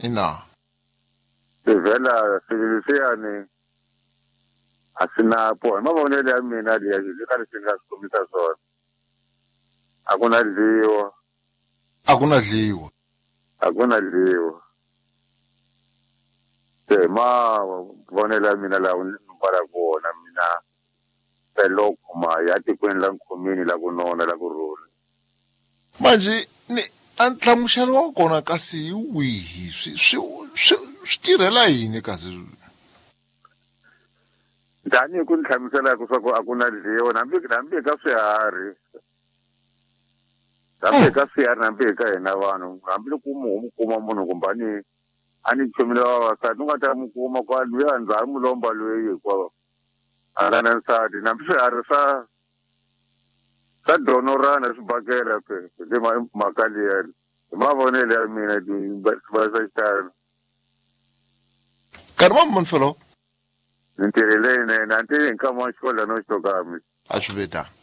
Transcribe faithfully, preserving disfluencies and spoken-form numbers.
Ina. Se vhela swilo leswiyani a swi na po. Hi mavonelo ya mina liya xi ka leswi nga swi kombisa swona. A ku na dliwa. A ku na dliwa. A ku na dliwa. Se mavonelo ya mina lawa ni kwala kona mina peloko ma ya tikweni la nkhomini la ku nona la ku rhula. Manje ni a nhlamuselo wa kona kasi hi wihi swi swi swi swi tirhela yini kasi? Tanihi ku ni hlamusela ku swa ku a ku na dliwa hambi hambi ka swiharhi. Hambi ka swiharhi hambi ka hina vanhu hambi loko mu kuma munhu kumbe a ni a ni chomile vavasati u nga ta mu kuma kwa luya ndzhawu mulomba loyi hinkwawo a nga na nsati hambi swiharhi swa swa donorana swi bakela pe le mhaka liya hi mavonelo ya mina va swa xitalo. Nkarhi wa mani felo? Ni ntirho leyinene a ni tivi hi nkama wa xikolo no xitokami. A swi ve tano.